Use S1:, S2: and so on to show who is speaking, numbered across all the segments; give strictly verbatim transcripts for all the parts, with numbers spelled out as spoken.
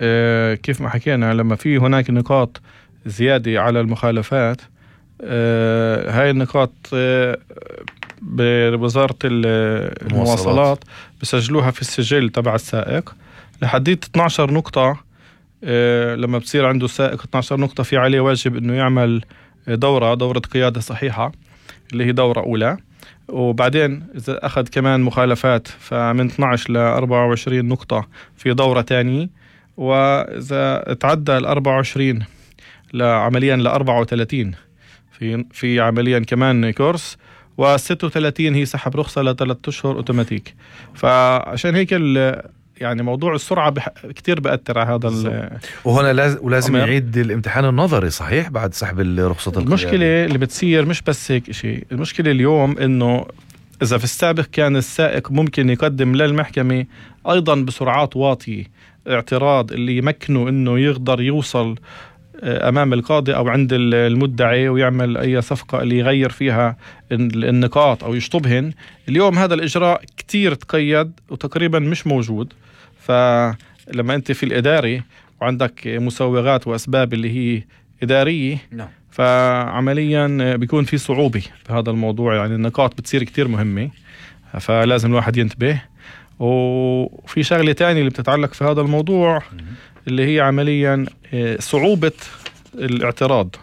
S1: آه، كيف ما حكينا لما في هناك نقاط زيادة على المخالفات، آه، هاي النقاط آه، بوزارة المواصلات بسجلوها في السجل تبع السائق لحديد اثنتا عشرة نقطة. آه، لما بصير عنده سائق اثنتا عشرة نقطة في عليه واجب انه يعمل دورة دورة قيادة صحيحة اللي هي دورة أولى، وبعدين إذا أخذ كمان مخالفات فمن اثنتا عشرة ل أربعة وعشرين نقطة في دورة تانية، وإذا تعدى ال أربعة وعشرين لعمليا ل أربعة وثلاثين في في عمليا كمان كورس، وستة وثلاثين هي سحب رخصة لثلاث أشهر أوتوماتيك. فعشان هيك يعني موضوع السرعة بح... كتير بأثر على هذا.
S2: وهنا لاز... ولازم يعيد الامتحان النظري صحيح بعد سحب رخصة القيادة.
S1: المشكلة اللي بتصير مش بس هيك شيء، المشكلة اليوم إنه إذا في السابق كان السائق ممكن يقدم للمحكمة أيضا بسرعات واطية اعتراض اللي يمكنه إنه يقدر يوصل أمام القاضي أو عند المدعي ويعمل أي صفقة اللي يغير فيها النقاط أو يشطبهن. اليوم هذا الإجراء كتير تقيد وتقريبا مش موجود. فلما أنت في الإداري وعندك مسوغات وأسباب اللي هي إدارية، فعمليا بيكون في صعوبة في هذا الموضوع. يعني النقاط بتصير كتير مهمة، فلازم الواحد ينتبه. وفي شغلة تانية اللي بتتعلق في هذا الموضوع اللي هي عمليا صعوبة الاعتراض.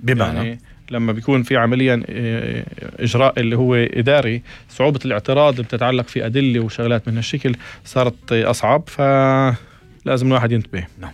S2: بمعنى
S1: يعني لما بيكون في عمليا إجراء اللي هو إداري، صعوبة الاعتراض بتتعلق في أدلة وشغلات من هالشكل صارت أصعب، فلازم الواحد ينتبه.
S2: نعم.